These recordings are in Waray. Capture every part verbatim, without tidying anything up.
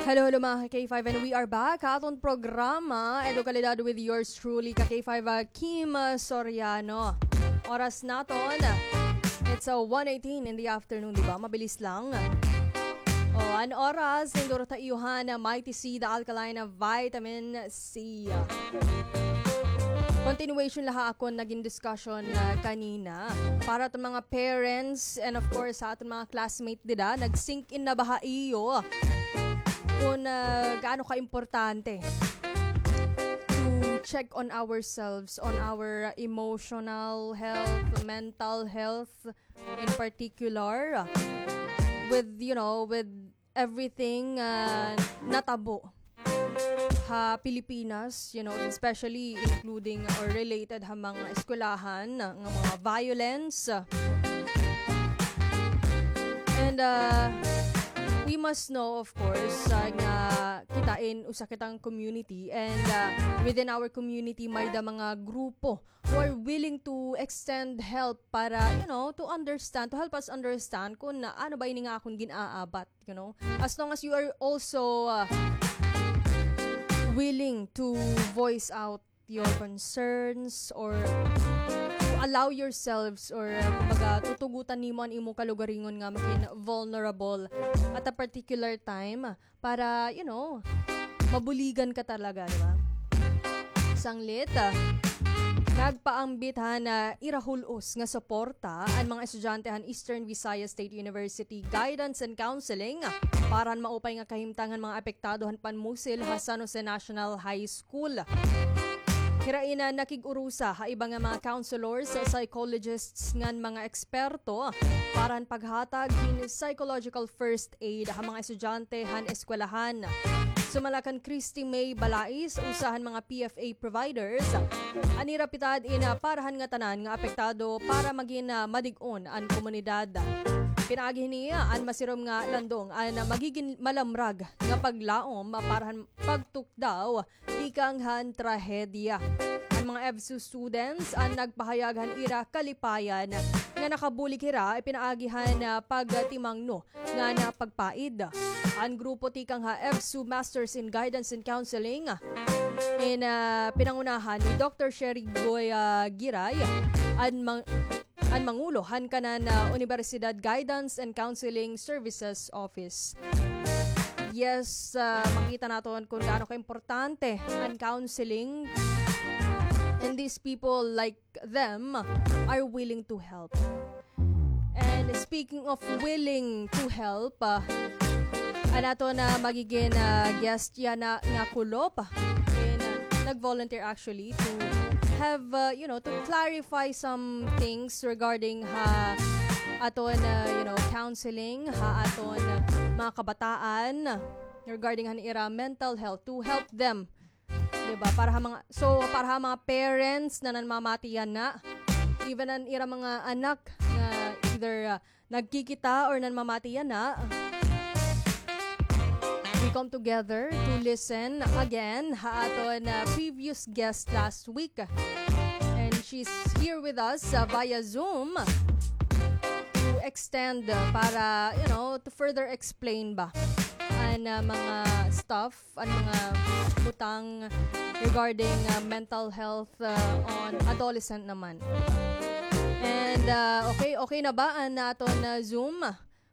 Hello, hello, mga ka-K five, and we are back ha aton programa, Edukalidad, with yours truly, ka-K five, ah, Kim, ah, Soriano. Oras naton, it's, ah, one eighteen in the afternoon, di ba? Mabilis lang. O, an oras, nindot ha iyo han Mighty C, the alkaline vitamin C. Continuation la ha akon nagin discussion, ah, kanina. Para aton mga parents and of course, sa aton mga classmate dida, nag-sink in na ba ha iyo kun, ah, gaano ka-importante to check on ourselves, on our emotional health, mental health in particular, with, you know, with everything, ah, natabo ha Pilipinas, you know, especially including or related ha mga eskwelahan nga mga violence. And, ah, we must know, of course, ah, nga kita in usa kitang community and, ah, within our community may da mga grupo who are willing to extend help para, you know, to understand, to help us understand kung ano ba ini nga akon gin-aabat, you know. As long as you are also, uh, willing to voice out your concerns or to allow yourselves or, uh, kumbaga, tutugutan nimo an imo kalugaringon nga maging vulnerable at a particular time, para, you know, mabuligan ka talaga, di ba? Sanglit, ah, nagpaambit han ira hul-os nga suporta an mga estudyante han Eastern Visayas State University Guidance and Counseling para han maupay nga kahimtang han mga apektado han panmusil ha San Jose National High School. Hira in nakig-urusa ha iba nga mga counselors, psychologists ngan mga eksperto para han paghatag hin psychological first aid ha mga estudyante han eskwelahan. Sumala kan Christy May Balais, usa han mga P F A providers, an ira pitad in, ah, para han ngatanan nga apektado para magin, ah, madig-on an komunidad. Pinaagi hini, ah, an masirom nga landong an, ah, magigin malamrag nga paglaom, ah, para han pagtukdaw tikang han trahedya. An mga EVSU students an nagpahayag han ira kalipayan nga nakabulig hira pinaagi han, ah, pagtimangno ngan pagpaid. An grupo tikang ha EVSU Masters in Guidance and Counseling in, ah, pinangunahan ni Doctor Sherry Goy, ah, Giray, an mang-, an mangulo han kanan, ah, Universidad Guidance and Counseling Services Office. Yes, ah, makita naton kung gaano ka-importante an counseling, and these people like them are willing to help. And speaking of willing to help, ah, an aton magigin, ah, guest yana nga kulop, and, ah, nag-volunteer actually to have, ah, you know, to clarify some things regarding ha aton, ah, you know, counseling, ha aton mga kabataan regarding han ira mental health, to help them, di ba? Para ha mga, so, para ha mga parents na nanmamati yana, even an ira mga anak nga either, ah, nagkikita or nanmamati yana, we come together to listen again ha aton, ah, previous guest last week. And she's here with us, ah, via Zoom to extend, ah, para, you know, to further explain ba an, ah, mga stuff an mga butang regarding, ah, mental health, ah, on adolescent naman. And, ah, okay, okay na ba an aton, ah, Zoom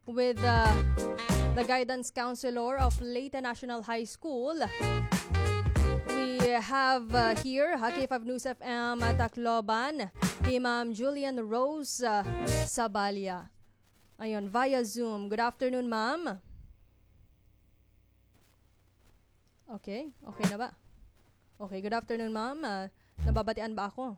with, ah, the guidance counselor of Leyte National High School? We have, ah, here ha K five News F M, ah, Tacloban, hi Ma'am Julian Rose, ah, Saballa. Ayun, via Zoom. Good afternoon, ma'am. Okay, okay na ba? Okay, good afternoon, ma'am. Ah, nababatian ba ako?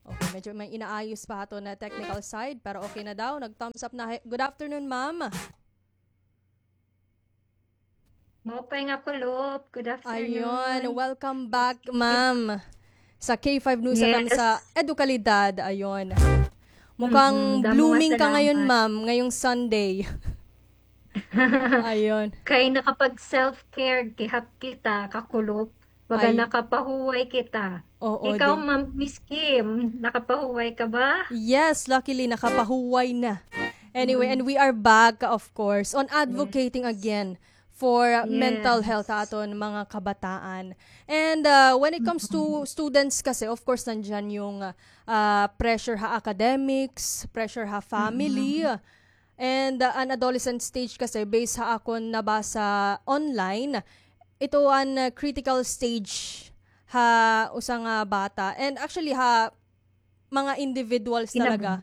Okay, medyo may inaayos pa aton technical side, pero okay na daw. Nag-thumbs up na. Good afternoon, ma'am. Maupay nga kulop. Good afternoon. Ayun, welcome back, ma'am, sa K five News F M sa Edukalidad. Ayun. Mukhang blooming ka ngayon, ma'am, ngayong Sunday. Ayun. Kay nakapag-self-care gihap kita, kakulop. Baga nakapahuway kita. Oo. Ikaw, Ma'am Miss Kim, nakapahuway ka ba? Yes, luckily, nakapahuway na. Anyway, and we are back, of course, on advocating again for mental health ha aton mga kabataan. And, ah, when it comes to students kasi, of course, nandiyan yung, ah, pressure ha academics, pressure ha family, and, ah, an adolescent stage kasi, based ha akon nabasa online, ito an, ah, critical stage ha usa nga bata. And actually, ha mga individuals talaga,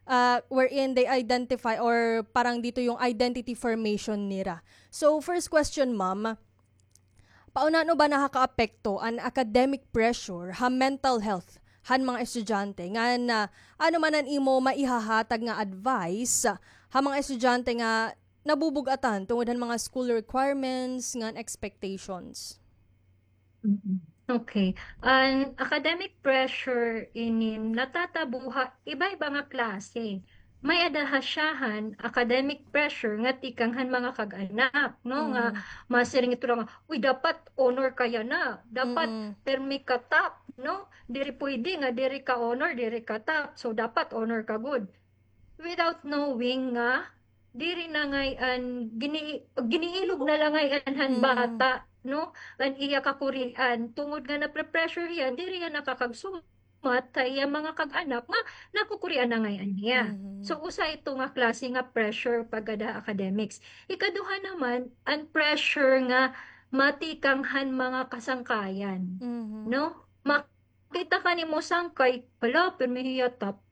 ah, wherein they identify or parang dito yung identity formation nira. So, first question, ma'am, paunano ba nakakaapekto an academic pressure ha mental health han mga estudyante? Ngan, ah, ano man an imo maihahatag nga advice ha mga estudyante nga nabubug-atan tungod han mga school requirements ngan expectations? Mm. Okay. An academic pressure inin natatabo ha iba-iba nga klase. May-ada ha siya han academic pressure nga tikang han mga kag-anak, no? Nga masiring ito nga, "Uy, dapat honor ka yana. Dapat permi ka top, no? Diri pwede nga diri ka honor, diri ka top. So, dapat honor ka gud." Without knowing nga diri na ngay-an, gini-, giniilog na la ngay-an han bata, no? An iya kakurian, tungod nga napre-pressure hiya, diri hiya nakakagsumat ha iya mga kag-anak nga nakukurian na ngay-an hiya. So, usa ito nga klase nga pressure pagkada academics. Ikaduha naman, an pressure nga matikang han mga kasangkayan, no? Ma- Kita ka nimo sangkay, "Hala, pirmi hiya top.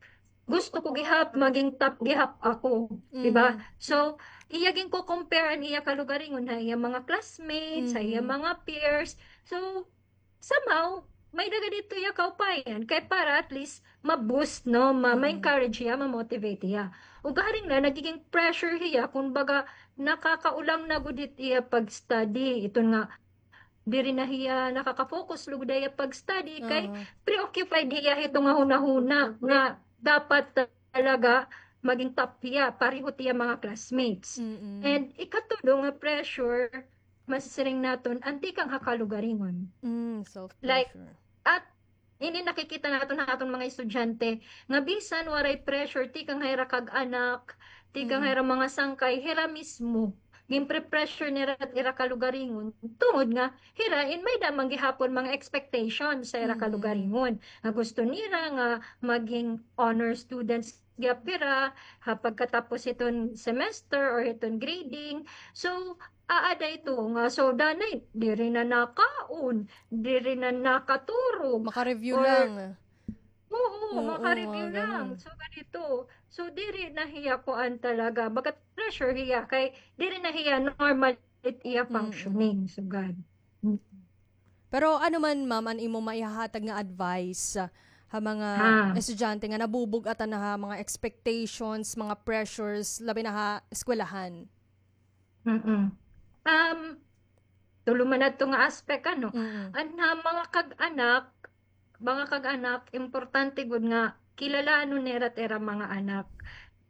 Gusto ko gihap, maging top gihap ako." Di ba? So, iya ginko-compare an iya kalugaringon ha iya mga classmates, ha iya mga peers. So, somehow, may-ada gad didto iya kaupayan. Kay para at least, ma-boost, no? Ma-, ma-encourage hiya, ma-motivate hiya. Ug garing na, nagiging pressure hiya, kun baga, nakakaulang na gud it iya pag-study. Ito nga, diri na hiya nakaka-focus lugod ha iya pag-study kay preoccupied hiya hito nga hunahuna nga dapat talaga maging top hiya, pareho it iya mga classmates. And ikatulo nga pressure, masisiring naton, an tikang ha kalugaringon. Like, at Ini nakikita naton ha aton mga estudyante nga bisan waray pressure tikang ha ira kag-anak, tikang ha ira mga sangkay, hira mismo ginpre-pressure nira it ira kalugaringon tungod nga hira in may-ada man gihapon mga expectations sa ira kalugaringon nga gusto nira nga maging honor students gihap hira ha pagkatapos hiton semester or hiton grading. So, aada ito nga, so, danay, diri na nakaon, diri na nakaturog. Maka-review lang. Oo, maka-review lang. So, ganito. So, diri na hiya kuan talaga. Bagat pressure hiya kay diri na hiya normal it iya functioning. So, gan. Pero ano man, ma'am, an imo maihahatag nga advice, ah, ha mga estudyante nga nabubug-atan na ha mga expectations, mga pressures, labi na ha eskwelahan? Mm. Um, tulo man adto nga aspect, ano? An ha mga kag-anak, mga kag-anak, importante gud nga kilalanon nira it ira mga anak,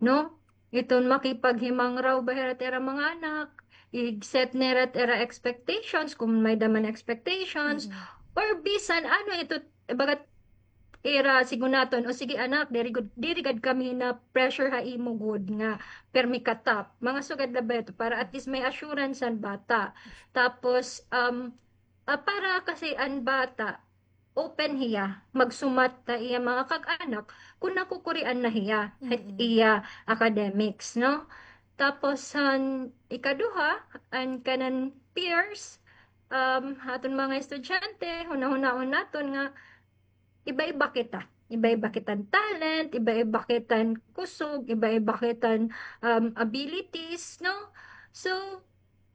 no? Iton makipaghimangraw ba hira it ira mga anak, i-set nira it ira expectations, kung may-ada man expectations, or bisan ano ito, bagat ira sigon naton, "O sige anak, diri gud, diri gad kami na-pressure ha imo gud nga permi ka top." Mga sugad la ba ito, para at least may assurance an bata. Tapos, um, ah, para kasi an bata, open hiya magsumat ha iya mga kag-anak kun nakukurian na hiya ha iya academics, no? Tapos, han ikaduha, an kanan peers, um, ha aton mga estudyante, hunahunaon naton nga iba-iba kita. Iba-iba kitan talent, iba-iba kitan kusog, iba-iba kitan, um, abilities, no? So,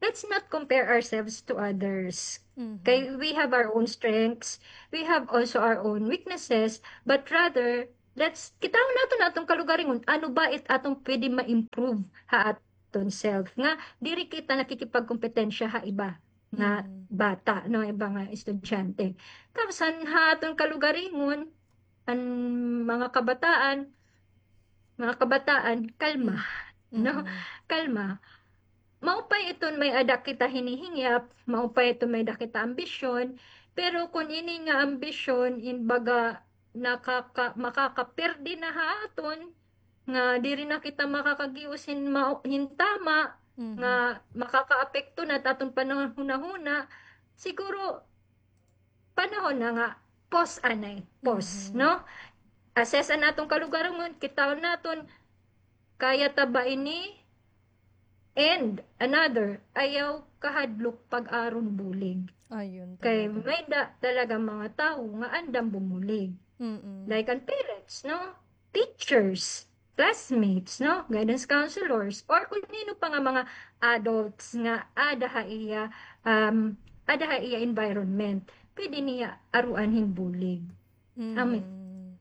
let's not compare ourselves to others. Kay we have our own strengths, we have also our own weaknesses, but rather, let's, kitahon naton aton kalugaringon, ano ba it aton pwede ma-improve ha aton self, nga diri kita nakikipagkompetensya ha iba nga bata, no, iba nga estudyante. Tapos, han, ha aton kalugaringon, an mga kabataan, mga kabataan, kalma, no? Kalma. Maupay iton may-ada kita hinihingyap, maupay iton may-ada kita ambisyon, pero kun ini nga ambisyon, in baga, nakaka-, makakaperde na ha aton, nga diri na kita makakagios hin mao-, hin tama, nga makakaapekto na it aton panahon-hunahuna, siguro panahon na nga pause anay, pause, no? Assess an aton kalugaringon, kitaon naton, kaya ta ba ini? And another, ayaw kahadlok pag-aron bulig. Ayun kay talaga. May da talaga mga tawo nga andam bumulig. Mm-mm. Like an parents, no? Teachers, classmates, no? Guidance counselors, or kung nino pa nga mga adults nga ada ha iya, um, ada ha iya environment. Pwede niya aruan hin bulig. Amo. Mm.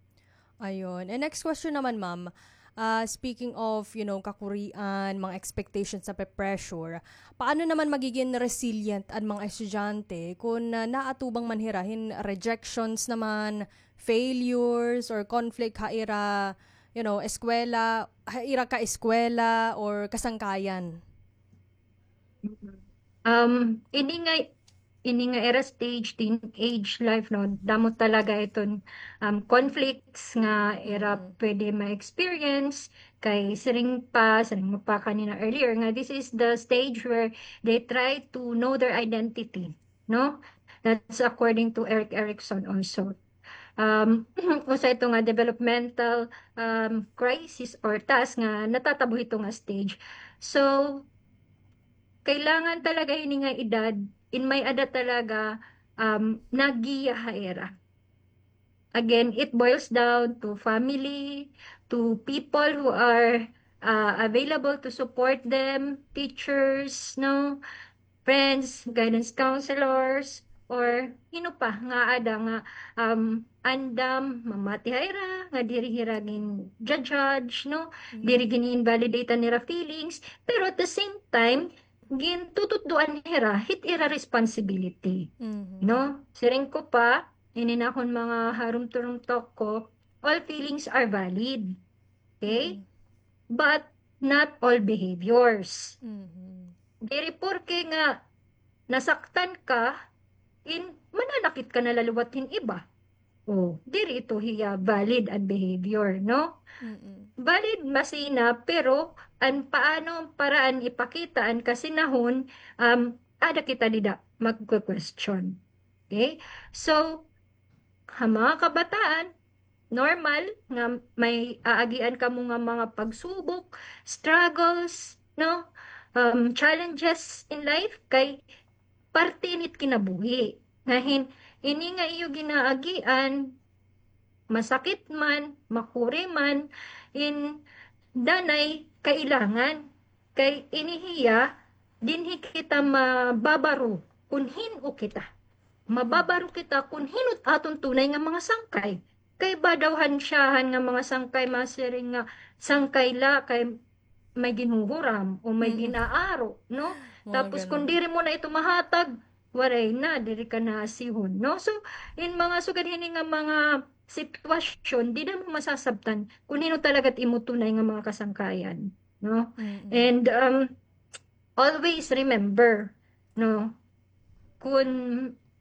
Ayun. And next question naman, ma'am. Ah, speaking of, you know, kakurian, mga expectations na pe-pressure, paano naman magiging resilient an mga estudyante kung, ah, naatubang man hira hin rejections naman, failures, or conflict ha ira, you know, eskwela, ha ira ka-eskwela or kasangkayan? Um, ini nga, ini nga ira stage, teenage life, no, damo talaga iton, um, conflicts nga ira pwede ma-experience. Kay siring pa, siring mo pa kanina earlier, nga this is the stage where they try to know their identity, no? That's according to Erik Erikson also. Um, usa ito nga developmental, um, crisis or task nga natatabo hito nga stage. So, kailangan talaga hini nga edad, in may-ada talaga, um, naggiya ha ira. Again, it boils down to family, to people who are, uh, available to support them, teachers, no? Friends, guidance counselors, or hino pa nga ada nga, um, andam mamati ha ira, nga diri hira gin-judge, no? Diri gin-invalidate an ira feelings, pero at the same time, gintututdoan hira hit ira responsibility. No? Siring ko pa, ini nakon mga harumturum talk ko, all feelings are valid. Okay? But not all behaviors. Diri porke nga nasaktan ka, in mananakit ka na la liwat hin iba. O, diri ito hiya valid an behavior, no? Valid masina, pero an paano, an paraan ipakita an kasinahon, um, ada kita dida magke-question. Okay? So, ha mga kabataan, normal nga may aagian kamo nga mga pagsubok, struggles, no? Um, challenges in life, kay parte ini it kinabuhi. Nga hin, ini nga iyo ginaagian, masakit man, makuri man, in danay kailangan. Kay ini hiya, dinhi kita mababaro kun hin-o kita. Mababaro kita kun hin-o it aton tunay nga mga sangkay. Kay iba daw han siyahan nga mga sangkay, masiring nga sangkay la kay may ginhuhuram o may gin-aaro, no? Tapos kun diri mo na ito mahatag, waray na, diri ka na asihon, no? So, in mga sugad hini nga mga sitwasyon, dida mo masasabtan kun hin-o talaga it imo tunay nga mga kasangkayan, no? And, um, always remember, no, kun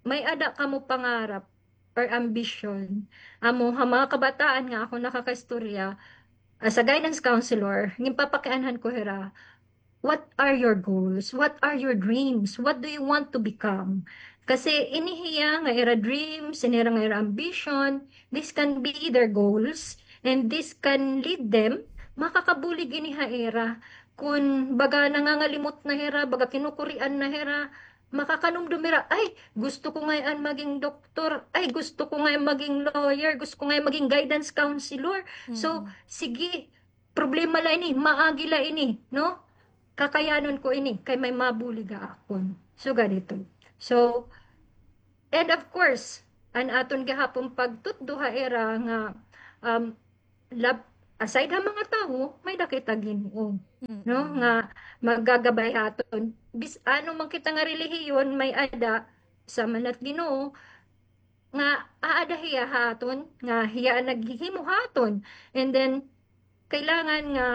may-ada kamo pangarap or ambisyon, amo ha mga kabataan nga akon nakakaistorya, as a guidance counselor, ginpapakianhan ko hira, what are your goals? What are your dreams? What do you want to become? Kasi ini hiya nga ira dreams, ini hira nga ira ambition, this can be their goals, and this can lead them, makakabulig ini ha ira. Kun baga nangangalimot na hira, baga kinukurian na hira, makakanumdom hira, "Ay, gusto ko ngay-an maging doktor. Ay, gusto ko ngay-an maging lawyer. Gusto ko ngay-an maging guidance counselor." So, sige, problema la ini, maagi la ini, no? Kakayanon ko ini, kay may mabulig ha akon. So, ganito. So, and of course, an aton gihapon pagtutdo ha ira nga, um, lab-, aside ha mga tawo, may-ada kita Ginoo, no? Nga magagabay ha aton. Bis-, ano man kita nga relihiyon, may-ada, sama na it Ginoo, nga aada hiya ha aton, nga hiya an naghihimo ha aton. And then, kailangan nga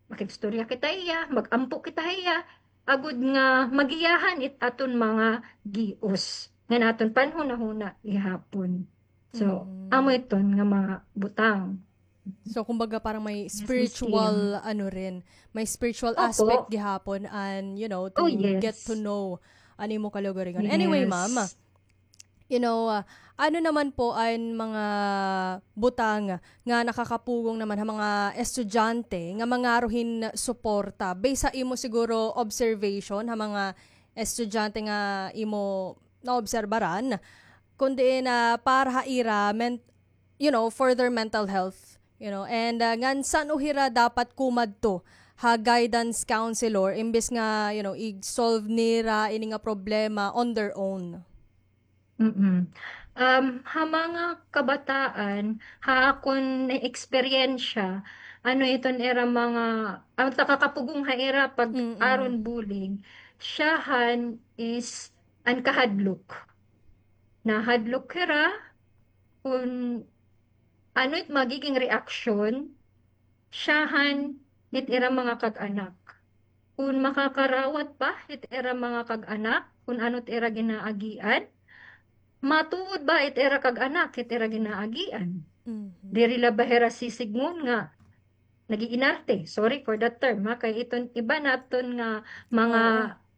makig-istorya kita hiya, mag-ampo kita hiya, agod nga magiyahan it aton mga gios ngan aton panhunahuna gihapon. So, amo iton nga mga butang. So, kumbaga, parang may spiritual, ano rin, may spiritual aspect gihapon and, you know, to get to know an imo kalugaringon. Anyway, ma'am, you know, ah, ano naman po an mga butang nga nakakapugong naman ha mga estudyante nga mangaro hin suporta? Based ha imo siguro observation ha mga estudyante nga imo naobserbaran, kundi na para ha ira men-, you know, for their mental health, you know, and, ah, ngan san-o hira dapat kumadto ha guidance counselor imbes nga, you know, i-solve nira ini nga problema on their own? Mm. Um, ha mga kabataan, ha akon na-eksperyensya, ano iton ira mga, an nakakapugong ha ira pag-aron bullying, siyahan is an kahadlok. Nahadlok hira kun ano it magiging reaksyon, siyahan it ira mga kag-anak. Kun makakarawat pa it ira mga kag-anak, kun ano it ira ginaagian, matuod ba it ira kag-anak it ira ginaagian? Diri la ba hira sisidngon nga nag-iinarte? Sorry for that term, ha, kay iton iba naton nga mga,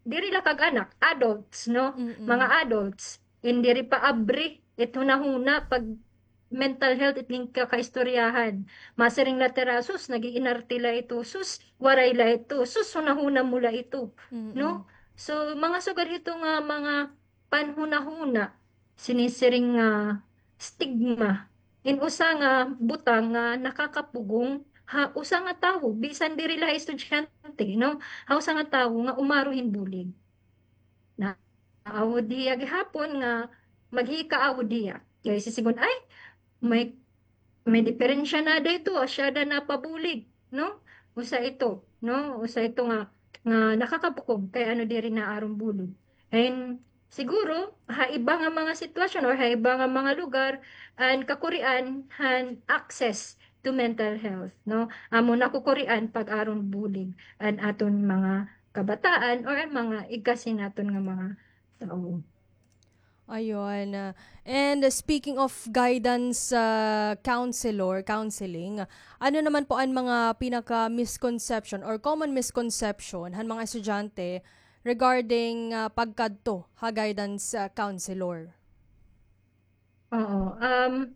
diri la kag-anak, adults, no? Mga adults, in diri pa abri it hunahuna pag mental health it ginkakaistoryahan. Masiring la it ira, "Sus, nag-iinarte la ito. Sus, waray la ito. Sus, hunahuna mo la ito." No? So, mga sugad hito nga mga panhunahuna, sinisiring nga stigma, in usa nga butang nga nakakapugong ha usa nga tawo, bisan diri la estudyante, no? Ha usa nga tawo nga umaro hin bullying. Naaawod hiya gihapon nga maghikaaawod hiya. Kay sisidngon, "Ay, may, may diperensya na ada ito, asya ada napabulig," no? Usa ito, no? Usa ito nga, nga nakakapugong kay ano diri naaron bullying. And siguro, ha iba nga mga sitwasyon or ha iba nga mga lugar, an kakurian han access to mental health, no? Amo nakukurian pag-aron bullying an aton mga kabataan or an mga igkasi naton nga mga tawo. Ayun, ah, and speaking of guidance, ah, counselor, counseling, ano naman po an mga pinaka-misconception or common misconception han mga estudyante regarding, ah, pagkadto ha guidance, ah, counselor? Oo, um,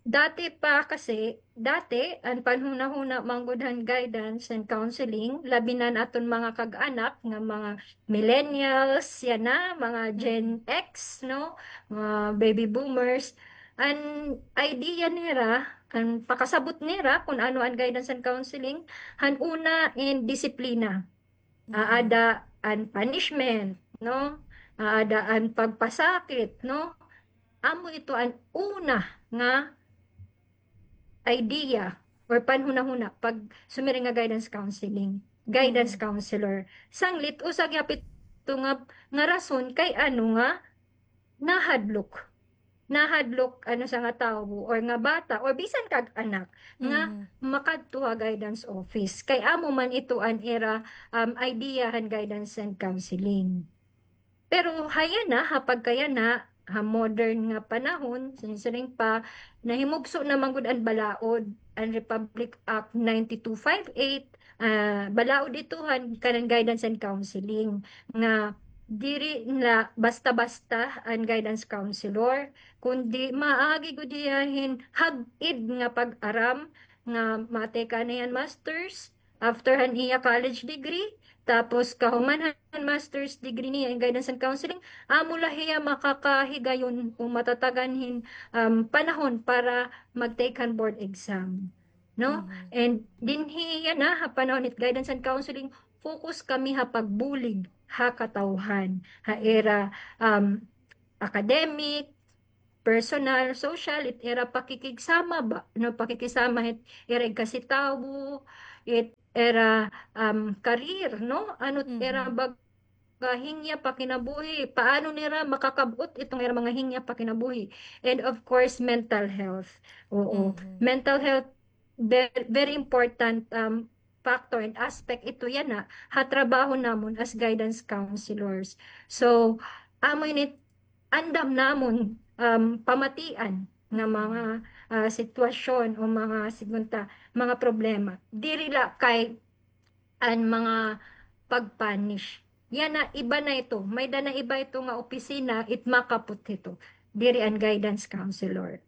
dati pa kasi, dati, an panhunahuna man gud han guidance and counseling, labi na an aton mga kag-anak nga mga millennials, yana, mga Gen X, no? Mga baby boomers. An idea nira, an pakasabot nira kun ano an guidance and counseling, han una in disiplina. Aada an punishment, no? Aada an pagpasakit, no? Amo ito an una nga idea or panhunahuna pag sumiring nga guidance counseling, guidance counselor. Sanglit, usa gihap ito nga, nga rason kay ano nga nahadlok. Nahadlok an usa nga tawo or nga bata or bisan kag-anak nga makadto ha guidance office. Kay amo man ito an ira, um, idea han guidance and counseling. Pero ha yana, ha pagkayana, ha modern nga panahon, sinisiring pa, nahimugso na man gud an balaod, an Republic Act ninety-two five eight, ah, balaod ito han kanan guidance and counseling nga diri na basta-basta an guidance counselor, kundi maagi gud hiya hin hag-id nga pag-aram nga matake na hiya hin masters, after han iya college degree, tapos kahuman han master's degree niya in guidance and counseling, amo la hiya makakahigayon o matatagan hin, um, panahon para mag-take han board exam, no? And dinhi yana ha panahon hit guidance and counseling, focus kami ha pagbulig ha katawhan, ha ira, um, academic, personal, social, it ira pakikigsama ba, no, pakikisama hit ira igkasi tawo, it ira, um, career, no, ano it ira baga hingya pakinabuhi, paano nira makakab-ot iton ira mga hingya pakinabuhi, and of course mental health. Oo, mental health, very, very important, um, factor and aspect ito yana ha trabaho namon as guidance counselors. So amo ini andam namon, um, pamatian nga mga ah, sitwasyon o mga, sigunta, mga problema. Diri la kay an mga pag-punish. Yana, iba na ito. May-ada na iba ito nga opisina, it makaput hito. Diri an guidance counselor.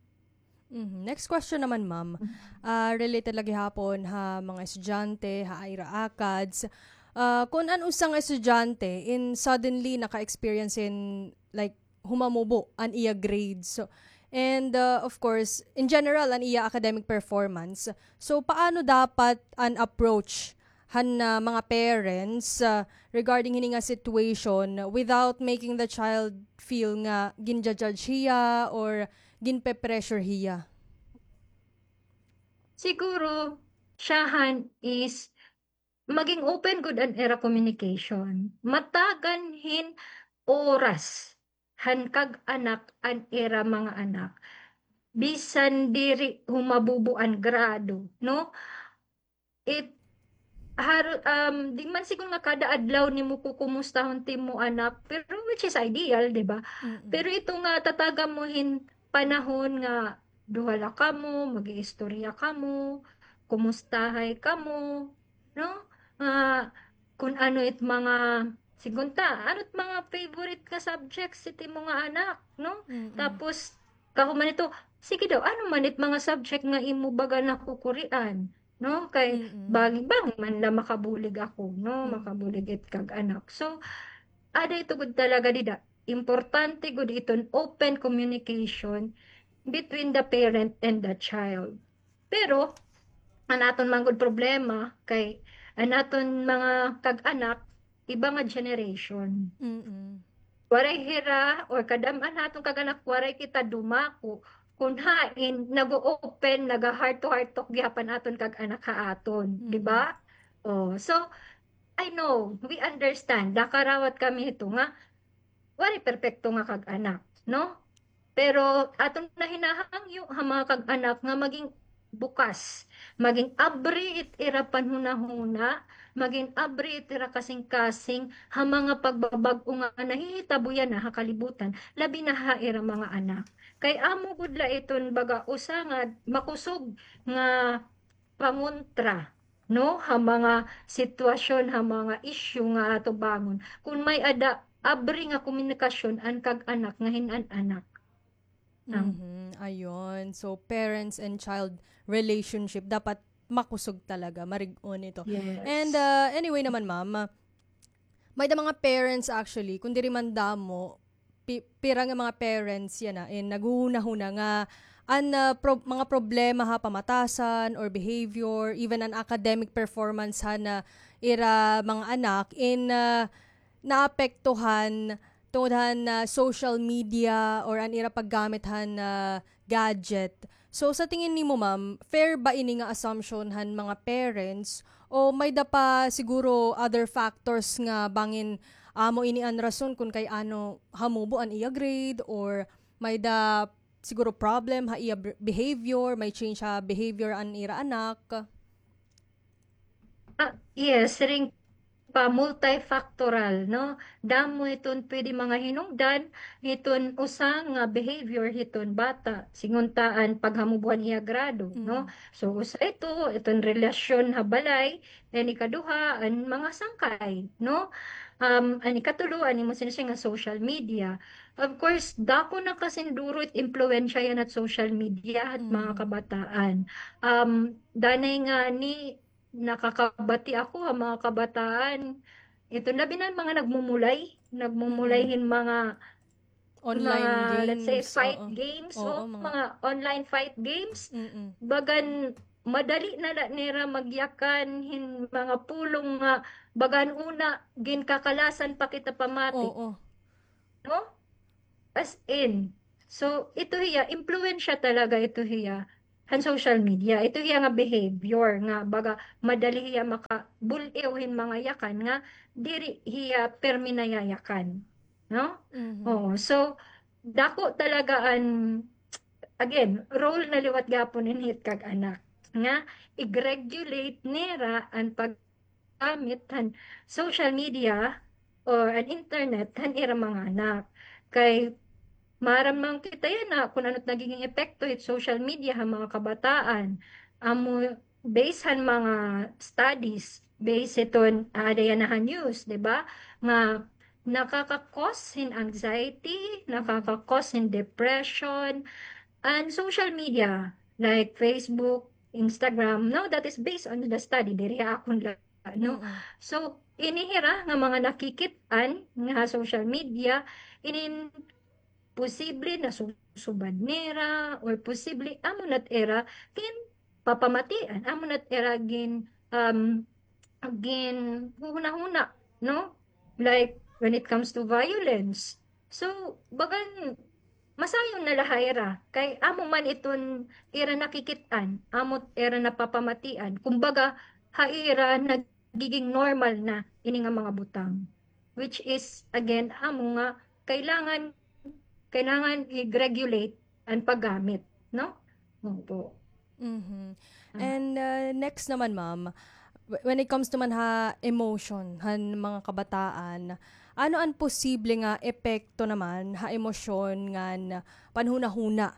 Mhm. Next question naman, ma'am. Ah, related la gihapon ha mga estudyante, ha ira ACADS. Ah, kun an usa nga estudyante in suddenly naka-experience hin, like, humamubo an iya grades. So, and, ah, of course, in general, an iya academic performance. So, paano dapat an approach han, ah, mga parents, ah, regarding hini nga situation without making the child feel nga ginja-judge hiya or ginpe-pressure hiya? Siguro, siyahan is maging open gud an ira communication. Matagan hin oras han kag-anak an ira mga anak. Bisan diri humabubo an grado, no? It, har-, um, di man siguro nga kada adlaw nimo kukumustahon it imo anak, pero which is ideal, di ba? Mm-mm. Pero ito nga tatagan mo hin panahon nga duha la kamo, mag-iistorya kamo, kumustahay kamo, no? Nga kun ano it mga, sigunta, ano it mga favorite nga subjects it imo nga anak, no? Mm-mm. Tapos, kahuman ito, sige daw, ano man it mga subject nga imo baga nakukurian, no? Kay Mm-mm. bangi-bangi man la makabulig ako, no? Mm. Makabulig it kag-anak. So, ada ito gud talaga dida. Importante gud iton open communication between the parent and the child. Pero, an aton man gud problema kay an aton mga kag-anak, iba nga generation. Mm-mm. Waray hira, or kadam-an ha aton kag-anak, waray kita dumako kun hain nag-o-open, naga-heart to heart talk gihap an aton kag-anak ha aton, di ba? Mm-mm. Oh, so, I know, we understand. Nakarawat kami hito nga waray perpekto nga kag-anak, no? Pero aton na hinahangyo ha mga kag-anak nga maging bukas, maging abri it ira panhunahuna, maging abri it ira kasingkasing ha mga pagbabag-o nga nahihitabo yana ha kalibutan, labi na ha ira mga anak. Kay amo gud la iton baga usa nga makusog nga pangontra, no, ha mga sitwasyon, ha mga issue nga atubangon. Kun may-ada abri nga komunikasyon an kag-anak nga hin an anak. Am. Mhm, ayun. So, parents and child relationship dapat makusog talaga, marig-on ito. Yes. And, ah, anyway naman, ma'am, ah, may-ada mga parents actually, kun diri man damo, pi-, pira nga mga parents yana, eh, naghuhunahuna nga an, ah, prob-, mga problema ha pamatasan or behavior, even an academic performance han, ah, ira mga anak, in, ah, naapektuhan tungod han, ah, social media or an ira paggamit han, ah, gadget. So, sa tingin nimo, ma'am, fair ba ini nga assumption han mga parents o may-ada pa siguro other factors nga bangin amo ini an rason kun kay ano hamubo an iya grade or may-ada siguro problem ha iya br-, behavior, may change ha behavior an ira anak? Ah, yes, siring pa, multifactorial, no? Damo iton pwede mga hinungdan hiton usa nga behavior hiton bata, sigunta an paghamubo han iya grado, no? Mm. So, usa ito, iton relasyon ha balay, an ikaduha, an mga sangkay, no? Um, an ikatulo, an imo sinabi nga social media. Of course, dako na kasinduro it impluwensya yana hit social media hit mga kabataan. Mm. Um, danay ngani, nakakabati ako ha mga kabataan. Ito, labi na mga nagmumulay, nagmumulay hin mga, mga, let's say, fight games, oo, mga online fight games. Mm-mm. Bagan madali na la nira magyakan hin mga pulong nga bagan una ginkakalasan pa kita pamati. Oo. No? As in. So, ito hiya, impluwensya talaga ito hiya han social media. Ito hiya nga behavior nga baga madali hiya makabul-iw hin mga yakan nga diri hiya pirmi nayayakan. No? Mhm. Oo. So, dako talaga an, again, role na liwat gihapon hin hit kag-anak nga i-regulate nira an pag- gamit han social media or an internet han ira mga anak. Kay Para man kita yana, kun ano it nagiging epekto hit social media ha mga kabataan. Amo, based han mga studies, based hiton, ah, ada yana ha news, di ba? Nga nakaka-cause hin anxiety, nakaka-cause hin depression, and social media, like Facebook, Instagram, no? That is based on the study, diri ha akon la, no? Mm-mm. So, ini hira nga mga nakikit-an nga ha social media, inin posible nasusubad nira, or posible amo na it ira ginpapamatian, amo na it ira gin-, um, ginhuhunahuna, no? Like, when it comes to violence. So, bagan masayon na la ha ira, kay amo man iton ira nakikit-an, amo it ira napapamatian. Kumbaga, ha ira nagiging normal na ini nga mga butang. Which is, again, amo nga kailangan, kailangan i-regulate an paggamit, no? Opo. Mhm. Ah. And, uh, next naman, ma'am, w-, when it comes naman ha emotion han mga kabataan, ano an posible nga epekto naman ha emosyon ngan panhunahuna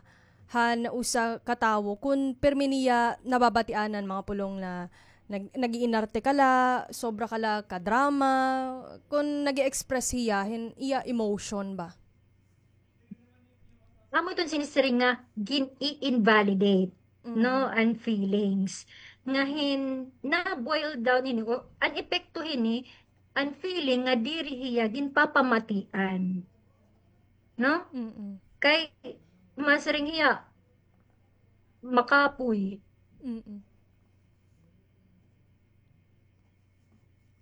han usa ka tawo kun pirmi niya nababatian an mga pulong na nag-, nag-iinarte ka la, sobra ka la ka-drama, kun nag-e-express hiya hin iya emotion ba? Amo iton sinisiring nga gin-i-invalidate, no, an feelings. Nga hin-, na-boil down hini, o, an epekto hini, an feeling nga diri hiya ginpapamatian. No? Mm-mm. Kay, masiring hiya, makapoy. Mm-mm.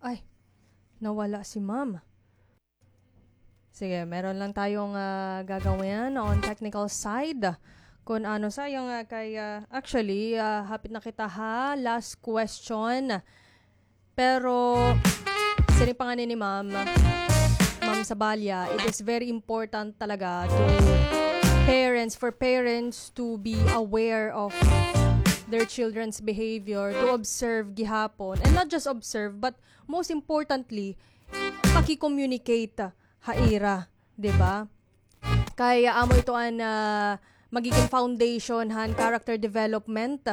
Ay, nawala si ma'am. Sige, meron lang tayong, ah, gagawin on technical side. Kung ano, sayang, ah, kay, ah, actually, ah, hapit na kita ha last question. Pero, siring pa ngani ni Ma'am, Ma'am Sabalia, it is very important talaga to parents, for parents to be aware of their children's behavior, to observe gihapon. And not just observe, but most importantly, paki-communicate ha ira, di ba? Kay, ah, amo ito an, ah, magiging foundation han character development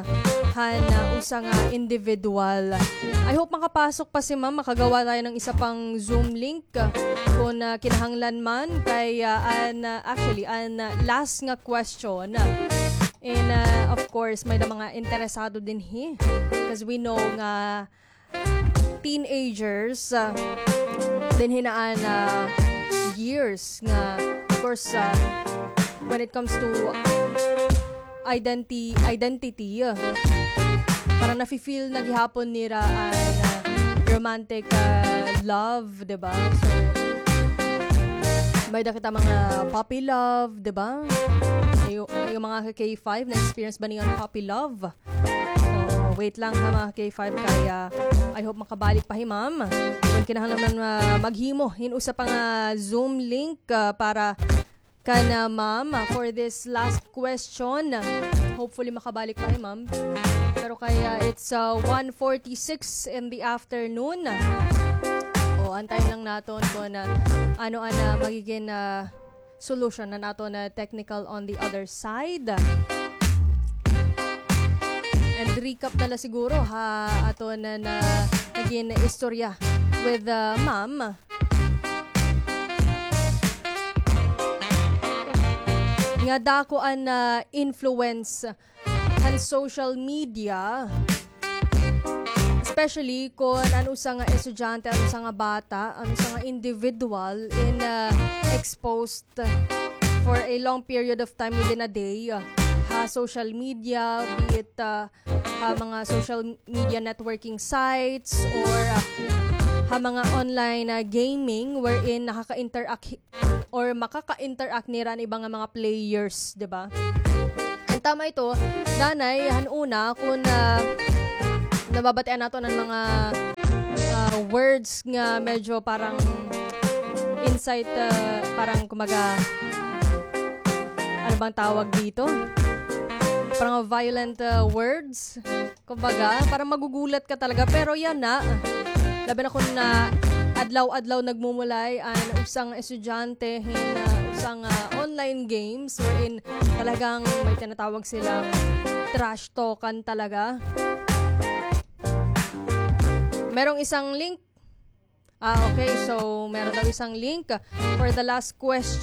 han, ah, usa nga individual. I hope makapasok pa si Ma'am, makagawa tayo ng isa pang Zoom link, ah, kung, ah, kinahanglan man. Kay, ah, an, ah, actually, an, ah, last nga question, ah, and, ah, of course, may da mga interesado dinhi. 'Cause we know nga teenagers, ah, dinhi na an, ah, years nga, of course, ah, when it comes to identi-, identity, ah, parang nafi-feel na gihapon nira an, ah, romantic, ah, love, di ba? So, may da kita mga puppy love, di ba? Yung, yung mga K five, na-experience ba niyo an puppy love? Oo, wait lang ha, mga K five, kay, ah, I hope makabalik pa hi Ma'am. Kung kinahanglan man, ah, maghimo hin usa pa nga Zoom link, ah, para kan, ah, Ma'am, ah, for this last question. Hopefully makabalik pa hi Ma'am. Pero kay, ah, it's, ah, one forty-six in the afternoon. O, antayin lang naton kung, ah, ano an, ah, magiging, ah, solution han aton nga technical on the other side. And recap na la siguro ha aton nga naging istorya with, uh, Ma'am. Nga dako an, uh, influence han social media, especially kon an usa nga estudyante, an usa nga bata, an usa nga individual in, uh, exposed for a long period of time within a day, uh, ha social media, be it, uh, ha mga social media networking sites or, uh, ha mga online, uh, gaming wherein nakaka-interact or makaka-interact nira an iba nga mga players, di ba? An tama ito, danay, han una, kon, ah, nababatian naton an mga, ah, words nga medyo parang insight, ah, parang kumaga, ano bang tawag dito? Parang violent, ah, words. Kumbaga, parang magugulat ka talaga. Pero yana, labi na kon, ah, adlaw-adlaw nagmumulay an usa nga estudyante hin, ah, usa pang, ah, online games wherein talagang may tinatawag silang trash talkan talaga. Merong isang link. Ah, okay. So, meron daw isang link for the last question.